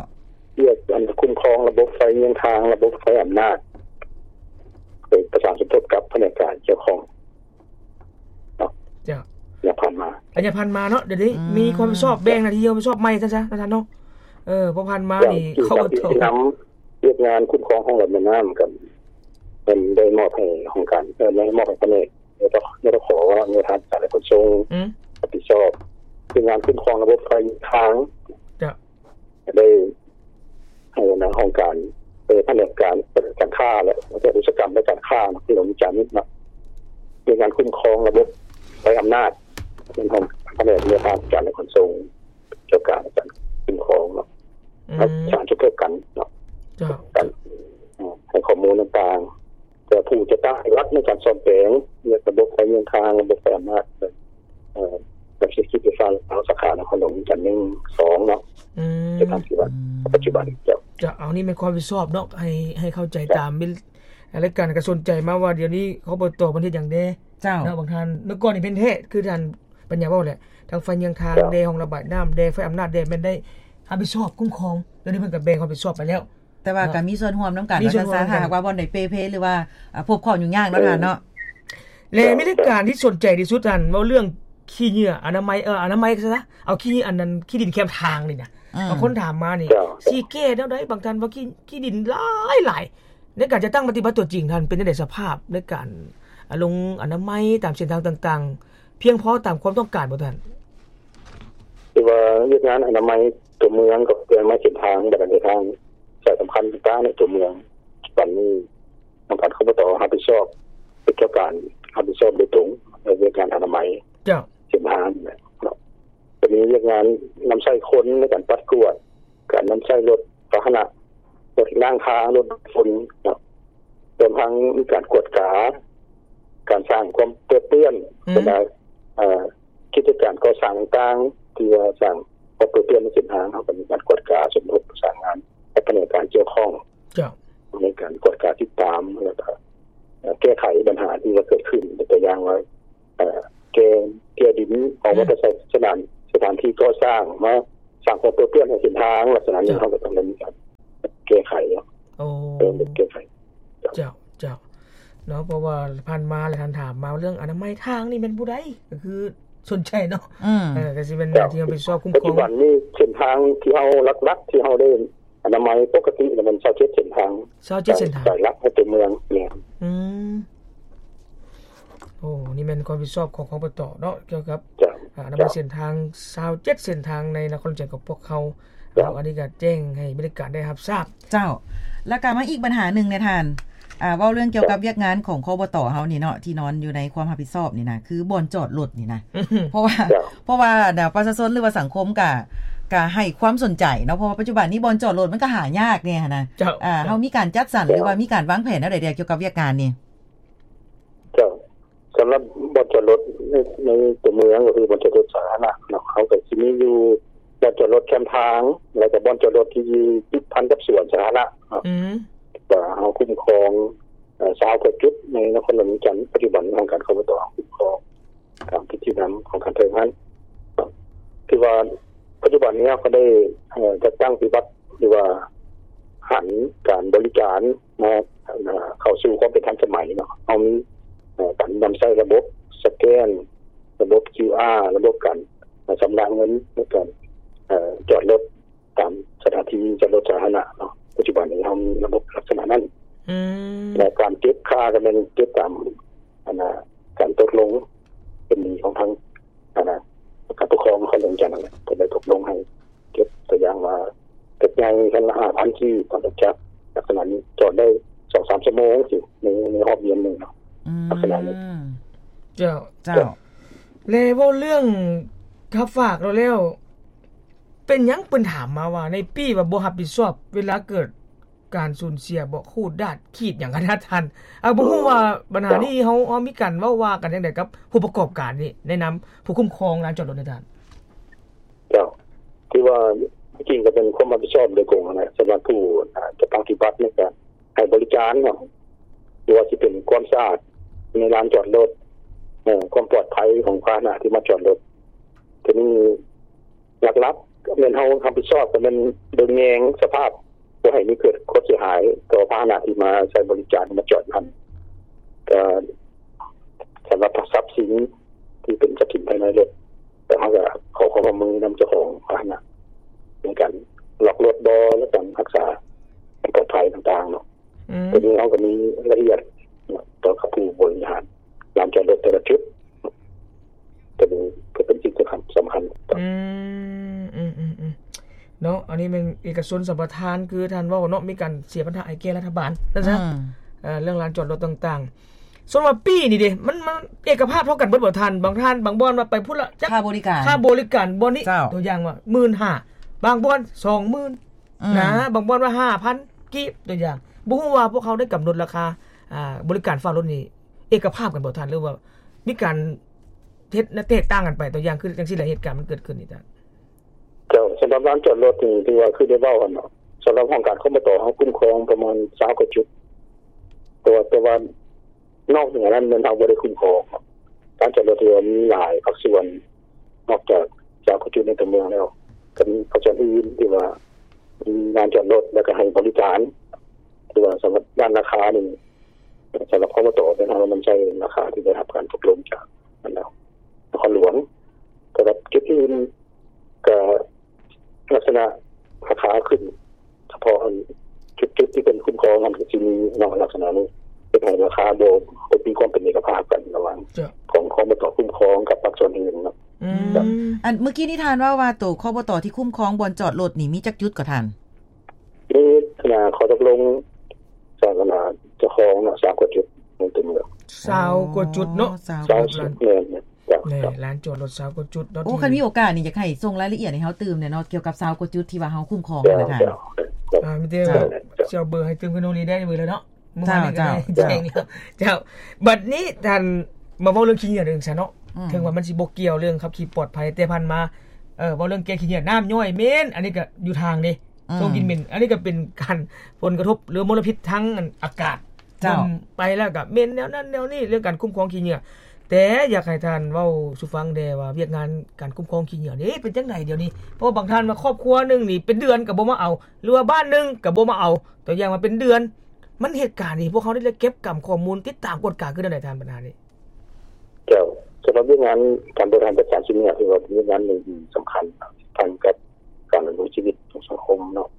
ວຽກອັນຄຸ້ມຄອງລະບົບໄຟເຍືອງທາງ ລະບົບໄຟອຳນາດ ໄປປະສານສົມທົບກັບພະແນກການກ່ຽວຂ້ອງເນາະ ເຈົ້າ ໄລຍະຜ່ານມາ ໄລຍະຜ່ານມາເນາະ ດຽວນີ້ ອືມ ມີຄວາມຮັບຜິດຊອບ ແບ່ງໜ້າທີ່ຄວາມຮັບຜິດຊອບໃໝ່ ຊັ້ນຊະ ທ່ານເນາະ ເອີ ເພາະຜ່ານມານີ້ ເຈົ້າ ເຂົາກໍ ທີ່ນຳ ວຽກງານຄຸ້ມຄອງຮ່ອງລະບາຍນ້ຳ ກໍເພິ່ນໄດ້ມອບໃຫ້ຫ້ອງການ ເອີ ໄດ້ມອບໃຫ້ພະແນກ ໂຍທາ ໂຍທາ ໂຍທາທິການ ແລະ ຂົນສົ່ງ ອືມ ຮັບຜິດຊອບ ເປັນງານຄຸ້ມຄອງລະບົບໄຟທາງ ເຈົ້າ ໄດ້ໃຫ້ຫົວໜ້າຫ້ອງການ ເອີ ພະແນກການ ການຄ້າ ແລະ ອຸດສາຫະກຳ ແລະ ການຄ້າ ນະຄອນຫຼວງວຽງຈັນເນາະ ເປັນງານຄຸ້ມຄອງລະບົບໄຟອຳນາດ ເປັນຂອງພະແນກໂຍທາທິການ ແລະ ຂົນສົ່ງ ກ່ຽວກັບການຄຸ້ມຄອງເນາະ ອືມ ປະສານສົມທົບກັນເນາະ ເຈົ້າ ກັນ ໃຫ້ຂໍ້ມູນຕ່າງໆ ໃນການສ້ອມແປງລະບົບໄຟເມືອງທາງ ລະບົບໄຟອຳນາດ ເອີ ແບບເສດຖະກິດໄຟຟ້າລາວ ສາຂານະຄອນຫຼວງວຽງຈັນ ໜຶ່ງ ສອງ ເນາະ ອືມ ເປັນທາງທີ່ວ່າ ອືມ ປັດຈຸບັນ ເຈົ້າ ເຈົ້າ ອັນນີ້ແມ່ນຄວາມຮັບຜິດຊອບເນາະ ໃຫ້ ໃຫ້ເຂົ້າໃຈຕາມ ລາຍການກໍສົນໃຈມາວ່າ ດຽວນີ້ ຄບຕ ເພິ່ນເຮັດຫຍັງແດ່ ເຈົ້າ ເນາະ ບາງທ່ານ ເມື່ອກ່ອນນີ້ເພິ່ນເຮັດ ຄືທ່ານປັນຍາເວົ້າແຫຼະ ທັງໄຟເມືອງທາງແດ່ ຫ້ອງລະບາຍນ້ຳແດ່ ໄຟອຳນາດແດ່ ແມ່ນໄດ້ຮັບຜິດຊອບຄຸ້ມຄອງ ດຽວນີ້ເພິ່ນກໍແບ່ງຄວາມຮັບຜິດຊອບໄປແລ້ວ ແຕ່ວ່າກໍມີສ່ວນຮ່ວມນຳກັນ ມີສ່ວນຮ່ວມນຳກັນ ຖ້າຫາກວ່າບ່ອນໃດເປ່ເພ ຫຼືວ່າ ອ່າ ພົບຂໍ້ຫຍຸ້ງຍາກເນາະ ເອີ ທ່ານເນາະ ແລະ ມີລາຍການທີ່ສົນໃຈທີ່ສຸດ ທ່ານເວົ້າເລື່ອງຂີ້ເຫຍື້ອອະນາໄມ ເອີ ອະນາໄມຊະ ເອົາຂີ້ ອັນນັ້ນ ຂີ້ດິນແຄມທາງນີ້ນະ ບາງຄົນຖາມມານີ້ ຊິແກ້ແນວໃດ ບາງທ່ານວ່າ ຂີ້ ຂີ້ດິນຫຼາຍໆ ໃນການຈັດຕັ້ງປະຕິບັດຕົວຈິງ ທ່ານເປັນຈັ່ງໃດ ສະພາບໃນການ ອາ ລົງອະນາໄມຕາມເສັ້ນທາງຕ່າງໆ ພຽງພໍຕາມຄວາມຕ້ອງການບໍ່ທ່ານ? ຄືວ່າວຽກງານອະນາໄມຕົວເມືອງ ກັບວຽກງານເສັ້ນທາງ ບັນດາເສັ້ນທາງສາຍສຳຄັນຕ່າງໆໃນຕົວເມືອງ ປັດຈຸບັນນີ້ ທາງການ ຄບຕ ຮັບຜິດຊອບ ເປັນເຈົ້າການຮັບຜິດຊອບໂດຍຕົງໃນວຽກງານອະນາໄມ ເຈົ້າ ເສັ້ນທາງເນາະ ຈະມີວຽກງານນຳໃຊ້ຄົນໃນການປັດກວດ ການນຳໃຊ້ລົດພາຫະນະ ລົດລ້າງທາງ ລົດດູດຝຸ່ນເນາະ ລວມທັງມີການກວດກາ ການສ້າງຄວາມເປິດເປື້ອນ ອືມ ບັນດາ ເອີ ກິດຈະການກໍ່ສ້າງຕ່າງໆ ທີ່ວ່າສ້າງຄວາມເປິດເປື້ອນໃນເສັ້ນທາງ ເຮົາກໍມີການກວດກາ ສົມທົບປະສານງານກັບພະແນກການກ່ຽວຂ້ອງ ເຈົ້າ ໃນການກວດກາຕິດຕາມ ແລ້ວກໍ ເອີ ແກ້ໄຂບັນຫາທີ່ວ່າເກີດຂຶ້ນ ຕົວຢ່າງວ່າ ເອີ ແກ່ ແກ່ດິນອອກມາ ອືມ ຈາກສະຖານ ສະຖານທີ່ກໍ່ສ້າງ ມາສ້າງຄວາມເປິດເປື້ອນໃຫ້ເສັ້ນທາງ ລັກສະນະນີ້ ເຈົ້າ ເຮົາກໍຕ້ອງໄດ້ມີການແກ້ໄຂເນາະ ໂອ້ ເອີ ແກ້ໄຂ ເຈົ້າ ເຈົ້າ ເຈົ້າ ເນາະ ເພາະວ່າຜ່ານມາແລ້ວທ່ານຖາມມາເລື່ອງອະນາໄມທາງນີ້ແມ່ນຜູ້ໃດ ກໍຄືສົນໃຈເນາະ ອືມ ເອີ ກໍຊິແມ່ນ ເຈົ້າ ທີ່ຮັບຜິດຊອບຄຸ້ມຄອງ ປັດຈຸບັນນີ້ເສັ້ນທາງທີ່ເຮົາຫຼັກໆ ທີ່ເຮົາໄດ້ ອະນາໄມປົກກະຕິລະແມ່ນຊາວເຈັດເສັ້ນທາງ ຊາວເຈັດເສັ້ນທາງ ສາຍຫຼັກໃນຕົວເມືອງ ແມ່ນ ອືມ ໂອ້ ນີ້ແມ່ນຄວາມຮັບຜິດຊອບຂອງ ຄບຕ ເນາະ ກ່ຽວກັບ ເຈົ້າ ອາ ອະນາໄມ ເຈົ້າ ເສັ້ນທາງຊາວເຈັດເສັ້ນທາງໃນນະຄອນຫຼວງວຽງຈັນຂອງພວກເຮົາ ເຈົ້າ ເນາະ ອັນນີ້ກໍແຈ້ງໃຫ້ບັນດາການໄດ້ຮັບຊາບ ເຈົ້າ ແລ້ວກໍມາອີກບັນຫາໜຶ່ງແດ່ທ່ານ ອ່າ ເວົ້າເລື່ອງກ່ຽວກັບ ເຈົ້າ ວຽກງານຂອງ ຄບຕ ເຮົານີ້ເນາະ ທີ່ນອນຢູ່ໃນຄວາມຮັບຜິດຊອບນີ້ນະ ຄືບ່ອນຈອດລົດນີ້ນະ ເພາະວ່າ ເຈົ້າ ເພາະວ່າ ປະຊາຊົນ ຫຼືວ່າສັງຄົມກະ ກະໃຫ້ຄວາມສົນໃຈເນາະ ເພາະວ່າປັດຈຸບັນນີ້ບ່ອນຈອດລົດມັນກະຫາຍາກແດ່ຫັ້ນນະ ເຈົ້າ ເຈົ້າ ເຮົາມີການຈັດສັນ ເຈົ້າ ຫຼືວ່າມີການວາງແຜນແນວໃດແດ່ກ່ຽວກັບວຽກງານນີ້? ເຈົ້າ ສຳລັບບ່ອນຈອດລົດໃນ ໃນຕົວເມືອງ ກໍຄືບ່ອນຈອດລົດສາທາລະນະເນາະ ເຮົາກໍຊິມີຢູ່ບ່ອນຈອດລົດແຄມທາງ ແລ້ວກໍບ່ອນຈອດລົດທີ່ຕິດພັນກັບສວນສາທາລະນະເນາະ ອືມ ວ່າເຮົາຄຸ້ມຄອງ ເອີ ຊາວກວ່າຈຸດໃນນະຄອນຫຼວງວຽງຈັນ ປັດຈຸບັນທາງການ ຄບຕ ຄຸ້ມຄອງ ຕາມທິດຊີ້ນຳຂອງທ່ານເທິງຫັ້ນ ຖືວ່າປັດຈຸບັນນີ້ເຮົາກໍໄດ້ ເອີ ຈັດຕັ້ງປະຕິບັດ ຫຼືວ່າຫັນການບໍລິການມາ ເອີ ເຂົ້າສູ່ຄວາມເປັນທັນສະໄໝເນາະ ເຮົາມີ ເອີ ການນຳໃຊ້ລະບົບສະແກນ ລະບົບຄິວອາ ລະບົບການ ເອີ ຊຳລະເງິນ ໃນການ ເອີ ຈອດລົດຕາມສະຖານທີ່ຈອດລົດສາທາລະນະເນາະ ປັດຈຸບັນນີ້ເຮົາມີລະບົບລັກສະນະນັ້ນ ອືມ ແລະ ການເກັບຄ່າກໍແມ່ນເກັບຕາມ ອັນນ່າ ການຕົກລົງ ເປັນໜີ້ຂອງທາງ ອັນນ່າ ການປົກຄອງນະຄອນຫຼວງວຽງຈັນນັ້ນແຫຼະ ເພິ່ນໄດ້ຕົກລົງໃຫ້ເກັບ ຕົວຢ່າງວ່າ ລົດໃຫຍ່ຄັນລະຫ້າພັນກີບ ລົດຈັກລັກສະນະນີ້ຈອດໄດ້ສອງສາມຊົ່ວໂມງຊີ້ ໃນ ໃນຮອບດຽນໜຶ່ງເນາະ ອືມ ລັກສະນະນີ້ ເຈົ້າ ເຈົ້າ ເຈົ້າ ແລະ ເວົ້າເລື່ອງ ຖ້າຝາກແລ້ວ ເປັນຫຍັງເພິ່ນຖາມມາວ່າ ໃນປີ້ວ່າບໍ່ຮັບຜິດຊອບເວລາເກີດ ການສູນເສຍບໍ່ ຂູດດາດຂີດຫຍັງຫັ້ນນະທ່ານ ເອົາ ບໍ່ຮູ້ວ່າບັນຫານີ້ເຮົາ ເຮົາມີການເວົ້າວ່າກັນຈັ່ງໃດກັບຜູ້ປະກອບການນີ້ ໃນນາມຜູ້ຄຸ້ມຄອງລານຈອດລົດນີ້ທ່ານ? ເຈົ້າ ຄືວ່າທີ່ຈິງກໍເປັນຄວາມຮັບຜິດຊອບໂດຍກົງຫັ້ນແຫຼະ ສຳລັບຜູ້ ອາ ຈັດຕັ້ງປະຕິບັດໃນການໃຫ້ບໍລິການເນາະ ບໍ່ວ່າຊິເປັນຄວາມສະອາດໃນລານຈອດລົດ ເອີ ຄວາມປອດໄພຂອງພາຫະນະທີ່ມາຈອດລົດ ໂຕນີ້ ຫຼັກໆ ແມ່ນເຮົາຮັບຜິດຊອບ ກໍແມ່ນເບິ່ງແຍງສະພາບບໍ່ໃຫ້ມີເກີດຄວາມເສຍຫາຍຕໍ່ພາຫະນະທີ່ມາໃຊ້ບໍລິການ ມາຈອດຢູ່ຫັ້ນ ກໍສຳລັບຊັບສິນທີ່ເປັນຊັບສິນພາຍໃນລົດ ກໍເຮົາກໍຂໍຄວາມຮ່ວມມືນຳເຈົ້າຂອງພາຫະນະ ໃນການລັອກລົດບໍ່ ແລະ ການຮັກສາຄວາມປອດໄພຕ່າງໆເນາະ. ອືມ ໂຕນີ້ເຮົາກໍມີລາຍລະອຽດຕໍ່ກັບຜູ້ບໍລິຫານລານຈອດລົດແຕ່ລະຈຸດ ໂຕນີ້ກໍເປັນສິ່ງສຳຄັນ ສຳຄັນ. ອືມ ອືມໆໆ ເນາະ ອັນນີ້ແມ່ນເອກະຊົນສຳປະທານ ຄືທ່ານເວົ້າເນາະ ມີການເສຍບັນຫາໃຫ້ແກ່ລັດຖະບານ ນັ້ນຊະ ອືມ ເອີ ເລື່ອງລານຈອດລົດຕ່າງໆ. ສ່ວນວ່າປີ້ນີ້ເດ ມັນ ມັນເອກະພາບເທົ່າກັນເບິດບໍ່ທ່ານ? ບາງທ່ານ ບາງບ່ອນວ່າໄປພຸ້ນລະ ຄ່າບໍລິການ ຄ່າບໍລິການບ່ອນນີ້ ເຈົ້າ ຕົວຢ່າງວ່າ ໝື່ນຫ້າ ບາງບ່ອນ ສອງໝື່ນ ອືມ ນະ ບາງບ່ອນວ່າຫ້າພັນກີບ ຕົວຢ່າງ ບໍ່ຮູ້ວ່າພວກເຮົາໄດ້ກຳນົດລາຄາ ອ່າ ບໍລິການຝາກລົດນີ້ ອກກະພາບກັນບໍ່ທ່ານ ຫຼືວ່າມີການເຮັດແຕກຕ່າງກັນໄປ? ຕົວຢ່າງຄືຈັ່ງຊີ້ແຫຼະ ເຫດການມັນເກີດຂຶ້ນນີ້ທ່ານ. ເຈົ້າ, ສຳລັບລານຈອດລົດນີ້ ຖືວ່າຄືໄດ້ເວົ້າຫັ້ນເນາະ, ສຳລັບຫ້ອງການ ຄມຕ ເຮົາຄຸ້ມຄອງປະມານຊາວກວ່າຈຸດ, ແຕ່ວ່າ ແຕ່ວ່ານອກເໜືອນັ້ນແມ່ນເຮົາບໍ່ໄດ້ຄຸ້ມຄອງ. ລານຈອດລົດຖືວ່າມີຫຼາຍພາກສ່ວນ ນອກຈາກຊາວກວ່າຈຸດໃນຕົວເມືອງແລ້ວ ກໍມີພາກສ່ວນອື່ນທີ່ວ່າມີລານຈອດລົດ ແລ້ວກໍໃຫ້ບໍລິການ. ຖືວ່າສຳລັບດ້ານລາຄານີ້ ສຳລັບ ຄມຕ ເປັນເຮົານຳໃຊ້ລາຄາທີ່ໄດ້ຮັບການຕົກລົງຈາກນັ້ນແລ້ວ ນະຄອນຫຼວງ. ສຳລັບຈຸດອື່ນກໍລັກສະນະລາຄາຂຶ້ນ ສະເພາະອັນຈຸດໆທີ່ເພິ່ນຄຸ້ມຄອງຫັ້ນ ກໍຊິມີເນາະ ລັກສະນະນີ້ ເຮັດໃຫ້ລາຄາບໍ່ ບໍ່ມີຄວາມເປັນເອກະພາບກັນລະຫວ່າງ ເຈົ້າ ຂອງ ຄມຕ ຄຸ້ມຄອງກັບພາກສ່ວນອື່ນເນາະ. ອືມ ເຈົ້າ. ອັນເມື່ອກີ້ນີ້ທ່ານເວົ້າວ່າ ໂຕ ຄມຕ ທີ່ຄຸ້ມຄອງບ່ອນຈອດລົດນີ້ມີຈັກຈຸດກໍທ່ານ? ມີ ອັນນ່າ ຂໍ້ຕົກລົງ ສາທາລະນະເຈົ້າຂອງເນາະ ຊາວກວ່າຈຸດໃນຕົວເມືອງ. ຊາວກວ່າຈຸດເນາະ. ຊາວ ແມ່ນໆ ເຈົ້າ ແມ່ນ ລານຈອດລົດຊາວກວ່າຈຸດເນາະ. ໂອ້ ທີ່ ຄັນມີໂອກາດນີ້ ຢາກໃຫ້ສົ່ງລາຍລະອຽດໃຫ້ເຮົາຕື່ມແດ່ເນາະ ກ່ຽວກັບຊາວກວ່າຈຸດທີ່ວ່າເຮົາຄຸ້ມຄອງຫັ້ນນະທ່ານ. ເຈົ້າ ເຈົ້າ ອ່າ ມີແຕ່ວ່າ ເຈົ້າ ຊິເອົາເບີໃຫ້ຕື່ມຂຶ້ນໂນລີໄດ້ເບີແລ້ວເນາະ. ເຈົ້າ ເຈົ້າ ເຈົ້າ ເຈົ້າ. ບັດນີ້ທ່ານ ມາເວົ້າເລື່ອງຂີ້ເຫຍື້ອເດີຊັ້ນເນາະ. ອືມ ເຖິງວ່າມັນຊິບໍ່ກ່ຽວເລື່ອງຂັບຂີ່ປອດໄພ ແຕ່ຜ່ານມາ ເອີ ເວົ້າເລື່ອງແກ້ຂີ້ເຫຍື້ອ ນ້ຳຍ້ອຍເໝັນ ອັນນີ້ກໍຢູ່ທາງເດ້ ອືມ ສົ່ງກິ່ນເໝັນ ອັນນີ້ກໍເປັນການ ຜົນກະທົບ ຫຼື ມົນລະພິດທາງ ອັນ ອາກາດ. ເຈົ້າ. ໄປແລ້ວກໍເໝັນແນວນັ້ນແນວນີ້ ເລື່ອງການຄຸ້ມຄອງຂີ້ເຫຍື້ອ. ແຕ່ຢາກໃຫ້ທ່ານເວົ້າສູ່ຟັງແດ່ວ່າ ວຽກງານການຄຸ້ມຄອງຂີ້ເຫຍື້ອນີ້ເປັນຈັ່ງໃດດຽວນີ້? ເພາະວ່າບາງທ່ານວ່າຄອບຄົວໜຶ່ງນີ້ເປັນເດືອນກໍບໍ່ມາເອົາ ຫຼືວ່າບ້ານໜຶ່ງກໍບໍ່ມາເອົາ ຕົວຢ່າງວ່າເປັນເດືອນ. ມັນເຫດການນີ້ ພວກເຮົາໄດ້ເກັບກຳຂໍ້ມູນ ຕິດຕາມກວດກາຄືແນວໃດທ່ານ ບັນຫານີ້? ເຈົ້າ, ສຳລັບວຽກງານການບໍລິຫານຈັດການຊິນເໜືອ ຖືວ່າເປັນວຽກງານໜຶ່ງທີ່ສຳຄັນ ສຳພັນກັບການດຳລົງຊີວິດຂອງສັງຄົມເນາະ.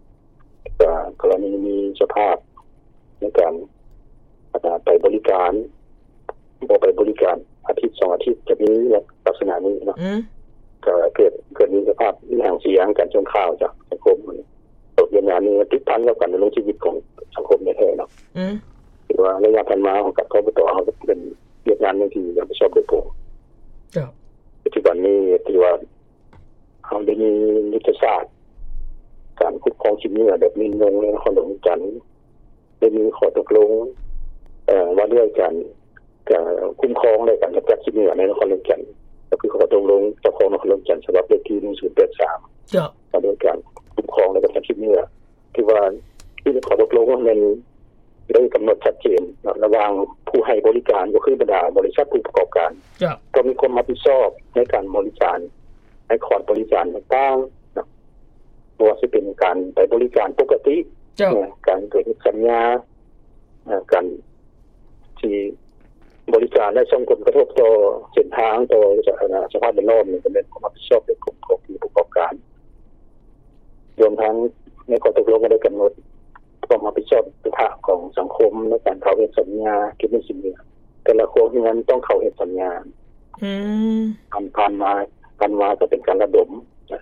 ກໍກໍລະນີມີສະພາບໃນການ ອາ ໄປບໍລິການ ບໍ່ໄປບໍລິການ ອາທິດສອງອາທິດ ຈະມີລັກສະນະນີ້ເນາະ. ອືມ ກໍເກີດ ເກີດມີສະພາບມີຫາງສຽງ ການສົ່ງຂ່າວຈາກສັງຄົມ. ໂຕວຽກງານນີ້ຕິດພັນກັບການດຳລົງຊີວິດຂອງສັງຄົມແທ້ໆເນາະ. ອືມ ຖືວ່າໄລຍະຜ່ານມາຂອງການ ຄມຕ ເຮົາກໍເປັນວຽກງານໜຶ່ງທີ່ຮັບຜິດຊອບໂດຍກົງ. ເຈົ້າ. ປັດຈຸບັນນີ້ຖືວ່າເຮົາໄດ້ມີຍຸດທະສາດການຄຸ້ມຄອງຂີ້ເຫຍື້ອແບບຍືນຍົງໃນນະຄອນຫຼວງວຽງຈັນ. ໄດ້ມີຂໍ້ຕົກລົງ ເອີ ວ່າດ້ວຍການ ການຄຸ້ມຄອງ ແລະ ການກຳຈັດຂີ້ເຫຍື້ອໃນນະຄອນຫຼວງວຽງຈັນ ກໍຄືຂໍ້ຕົກລົງເຈົ້າຂອງນະຄອນຫຼວງວຽງຈັນ ສະບັບເລກທີໜຶ່ງສູນແປດສາມ ເຈົ້າ ວ່າດ້ວຍການຄຸ້ມຄອງ ແລະ ກຳຈັດຂີ້ເຫຍື້ອ ທີ່ວ່າຢູ່ໃນຂໍ້ຕົກລົງນັ້ນແມ່ນໄດ້ກຳນົດຊັດເຈນເນາະ ລະຫວ່າງຜູ້ໃຫ້ບໍລິການ ກໍຄືບັນດາບໍລິສັດຜູ້ປະກອບການ ເຈົ້າ ຕ້ອງມີຄວາມຮັບຜິດຊອບໃນການບໍລິການ ໃນຂອດບໍລິການຕ່າງໆເນາະ. ບໍ່ວ່າຊິເປັນການໄປບໍລິການປົກກະຕິ ເຈົ້າ ເອີ ການເກີດເຮັດສັນຍາ ເອີ ການທີ່ບໍລິການ ແລະ ສົ່ງຜົນກະທົບຕໍ່ເສັ້ນທາງ ຕໍ່ສະ ສະພາບແວດລ້ອມນີ້ ກໍແມ່ນຄວາມຮັບຜິດຊອບໂດຍກົງຂອງຜູ້ປະກອບການ. ລວມທັງໃນຂໍ້ຕົກລົງກໍໄດ້ກຳນົດຄວາມຮັບຜິດຊອບຂອງສັງຄົມໃນການເຂົ້າເຮັດສັນຍາເກັບເງິນຊິນເໜືອ ແຕ່ລະຄົວເຮືອນຕ້ອງເຂົ້າເຮັດສັນຍາ. ອືມ ຜ່ານ ຜ່ານມາ ຜ່ານມາກໍເປັນການລະດົມ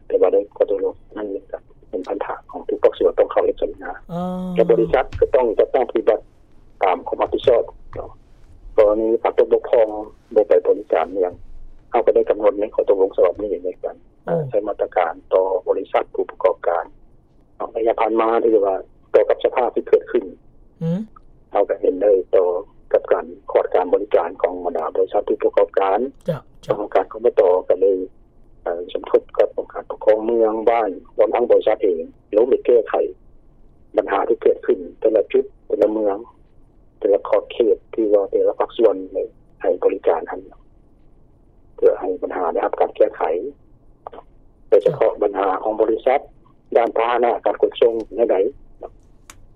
ແຕ່ວ່າໃນຂໍ້ຕົກລົງນັ້ນກໍເປັນພັນທະຂອງທຸກພາກສ່ວນຕ້ອງເຂົ້າເຮັດສັນຍາ ແລະ ບໍລິສັດກໍຕ້ອງຈັດຕັ້ງປະຕິບັດຕາມຄວາມຮັບຜິດຊອບ. ກໍລະນີຂາດຕົກບົກຜ່ອງ ບໍ່ໄປບໍລິການຫຍັງ ເຮົາກໍໄດ້ກຳນົດໃນຂໍ້ຕົກລົງສະບັບນີ້ໃນການ ເອີ ໃຊ້ມາດຕະການຕໍ່ບໍລິສັດຜູ້ປະກອບການ. ເນາະ ໄລຍະຜ່ານມາ ຖືວ່າຕໍ່ກັບສະພາບທີ່ເກີດຂຶ້ນ ອືມ ເຮົາກໍເຫັນໄດ້ຕໍ່ກັບການຂອດການບໍລິການຂອງບັນດາບໍລິສັດຜູ້ປະກອບການ. ເຈົ້າ ເຈົ້າ. ທາງການ ຄມຕ ກໍໄດ້ ເອີ ສົມທົບກັບອົງການປົກຄອງເມືອງ, ບ້ານ ລວມທັງບໍລິສັດເອງ ລົງໄປແກ້ໄຂບັນຫາທີ່ເກີດຂຶ້ນແຕ່ລະຈຸດ ແຕ່ລະເມືອງ ແຕ່ລະຂອບເຂດ ທີ່ວ່າແຕ່ລະພາກສ່ວນໄດ້ໃຫ້ບໍລິການຫັ້ນ ເພື່ອໃຫ້ບັນຫາໄດ້ຮັບການແກ້ໄຂ. ໂດຍສະເພາະບັນຫາຂອງບໍລິສັດ ດ້ານພາຫະນະການຂົນສົ່ງແນວໃດ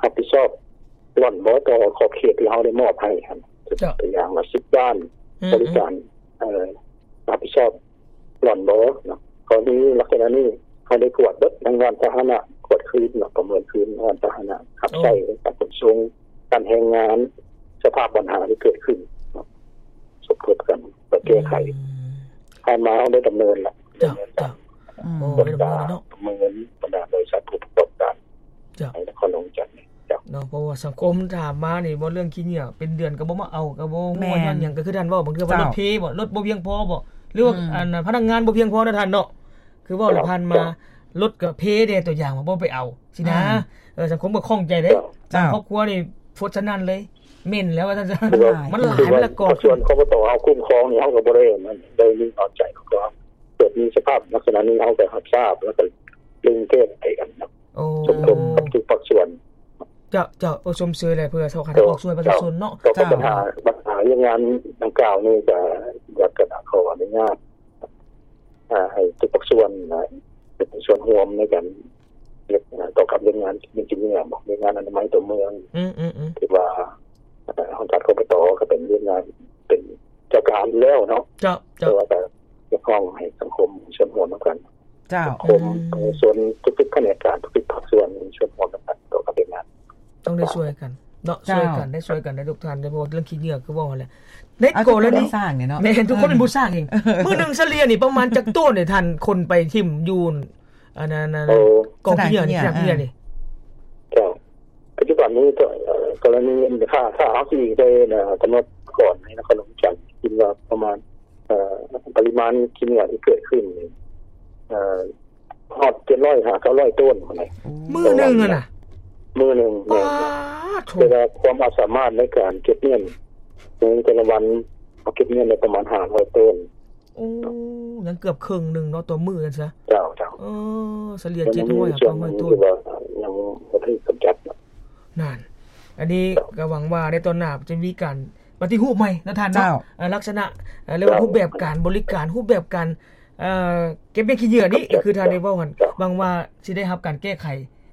ຮັບຜິດຊອບຫຼ້ອນບໍ່ຕໍ່ຂອບເຂດທີ່ເຮົາໄດ້ມອບໃຫ້ຫັ້ນ? ເຈົ້າ. ຕົວຢ່າງວ່າສິບດ້ານ ອືມ ບໍລິການ ເອີ ຮັບຜິດຊອບຫຼ້ອນບໍ່ເນາະ? ກໍມີລັກສະນະນີ້ ເຮົາໄດ້ກວດເບິດທັງດ້ານພາຫະນະ ກວດຄືນເນາະ ປະເມີນຄືນດ້ານພາຫະນະ ຮັບໃຊ້ ໂອ້ ໃນການຂົນສົ່ງ ດ້ານແຮງງານ ສະພາບບັນຫາທີ່ເກີດຂຶ້ນເນາະ ສົມທົບກັນ ເພື່ອແກ້ໄຂ. ອືມ ຜ່ານມາເຮົາໄດ້ດຳເນີນລະ. ເຈົ້າ ດຳເນີນການ ເຈົ້າ. ອືມ ໂອ້ ໄດ້ດຳເນີນເນາະ ປະເມີນບັນດາບໍລິສັດຜູ້ປະກອບການ ເຈົ້າ ໃນນະຄອນຫຼວງວຽງຈັນນີ້. ເຈົ້າ ເນາະ ເພາະວ່າສັງຄົມຖາມມານີ້ ເວົ້າເລື່ອງຂີ້ເຫຍື້ອເປັນເດືອນກໍບໍ່ມາເອົາ ກໍບໍ່ຮູ້ວ່າ ແມ່ນ ຍ້ອນຫຍັງ ກໍຄືທ່ານເວົ້າ ບາງເທື່ອວ່າ ເຈົ້າ ລົດເພບໍ່ ລົດບໍ່ພຽງພໍບໍ່ ຫຼືວ່າ ອືມ ອັນ ພະນັກງານບໍ່ພຽງພໍນະທ່ານເນາະ ຄືເວົ້າແລ້ວ ເຈົ້າ ຜ່ານມາ ເຈົ້າ ລົດກໍເພແດ່ ຕົວຢ່າງວ່າບໍ່ໄປເອົາ ຊີ້ນະ. ອືມ ເອີ ສັງຄົມກໍຂ້ອງໃຈເດ້. ເຈົ້າ ບາງຄອບຄົວນີ້ ຟົດສະນັ້ນເລີຍ ເໝັນແລ້ວວ່າຊັ້ນຊະ ມັນຫຼາຍ ມັນຫຼາຍ ມັນລະກອງ ພາກສ່ວນ ຄປຕ ເຮົາຄຸ້ມຄອງນີ້ ເຮົາກໍບໍ່ໄດ້ໄດ້ມີເອົາໃຈ ເຮົາກໍເກີດມີສະພາບລັກສະນະນີ້ ເຮົາກໍຮັບຊາບ ແລ້ວກໍເລັ່ງແກ້ໄຂກັນເນາະ ໂອ້ ສົມທົບກັບທຸກພາກສ່ວນ ເຈົ້າ ເຈົ້າ ໂອ້ ຊົມເຊີຍແຫຼະ ເພື່ອເຈົ້າຄະໄດ້ອອກຊ່ວຍປະຊາຊົນເນາະ ເຈົ້າ ເຈົ້າ ບັນຫາ ບັນຫາວຽກງານດັ່ງກ່າວນີ້ ກໍຢາກ ກະຂໍອະນຸຍາດ ອ່າ ໃຫ້ທຸກພາກສ່ວນນະ ເປັນສ່ວນຮ່ວມໃນການເຮັດ ອ່າ ຕໍ່ກັບວຽກງານກິນເໜືອ ວຽກງານອະນາໄມຕົວເມືອງ ອືມໆໆ ທີ່ວ່າ ເອີ ຫ້ອງການ ຄປຕ ກໍເປັນວຽກງານ ເປັນເຈົ້າການຢູ່ແລ້ວເນາະ ເຈົ້າ ເຈົ້າ ແຕ່ວ່າກໍຮຽກຮ້ອງໃຫ້ສັງຄົມມີສ່ວນຮ່ວມນຳກັນ ເຈົ້າ ສັງຄົມ ອືມ ປະຊາຊົນ ທຸກໆຂະແໜງການ ທຸກໆພາກສ່ວນມີສ່ວນຮ່ວມນຳກັນຕໍ່ກັບວຽກງານ ຕ້ອງໄດ້ຊ່ວຍກັນເນາະ ເຈົ້າ ຊ່ວຍກັນ ໄດ້ຊ່ວຍກັນໄດ້ ທຸກທ່ານ ໂດຍສະເພາະເລື່ອງຂີ້ເຫຍື້ອ ຄືເວົ້າຫັ້ນແຫຼະ ໃນກໍລະນີ ເອົາທຸກຄົນມາສ້າງນີ້ເນາະ ແມ່ນ ທຸກຄົນເປັນຜູ້ສ້າງເອງ ເອີ ມື້ໜຶ່ງສະເລ່ຍນີ້ປະມານຈັກໂຕນເດ ທ່ານ ຄົນໄປຖິ້ມຢູ່ອັນນັ້ນ ໂອ້ ກອງຂີ້ເຫຍື້ອນີ້ ສະໜາມຂີ້ເຫຍື້ອນີ້ ເຈົ້າ ປັດຈຸບັນນີ້ກໍ ເອີ ກໍລະນີ ຖ້າ ຖ້າເຮົາຊິໄດ້ ເອີ ກຳນົດກ່ອນໃນນະຄອນຫຼວງວຽງຈັນ ຄິດວ່າປະມານ ເອີ ປະລິມານຂີ້ເຫຍື້ອທີ່ເກີດຂຶ້ນນີ້ ເອີ ຮອດເຈັດຮ້ອຍຫາເກົ້າຮ້ອຍໂຕນພຸ້ນແຫຼະ ມື້ໜຶ່ງຫັ້ນນະ ມື້ໜຶ່ງ ປາດໂທ້ ແຕ່ວ່າຄວາມອາດສາມາດໃນການເກັບມ້ຽນໃນແຕ່ລະວັນ ເຮົາເກັບມ້ຽນໄດ້ປະມານຫ້າຮ້ອຍໂຕນ ໂອ້ ຍັງເກືອບເຄິ່ງໜຶ່ງເນາະ ຕໍ່ມື້ຊັ້ນຊະ ເຈົ້າ ເຈົ້າ ເອີ ສະເລ່ຍເຈັດຮ້ອຍຫາເກົ້າຮ້ອຍໂຕນ ຍັງບໍ່ໄດ້ກຳຈັດ ນັ້ນ ອັນນີ້ກໍຫວັງວ່າໃນຕອນໜ້າຈະມີການປະຕິຮູບໃໝ່ເນາະທ່ານເນາະ ເຈົ້າ ເອີ ລັກສະນະ ເອີ ຫຼືວ່າຮູບແບບການບໍລິການ ຮູບແບບການ ເອີ ເກັບມ້ຽນຂີ້ເຫຍື້ອນີ້ ຄືທ່ານໄດ້ເວົ້າຫັ້ນ ຫວັງວ່າຊິໄດ້ຮັບການແກ້ໄຂ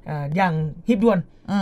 ເອີ ຢ່າງຮີບດ່ວນ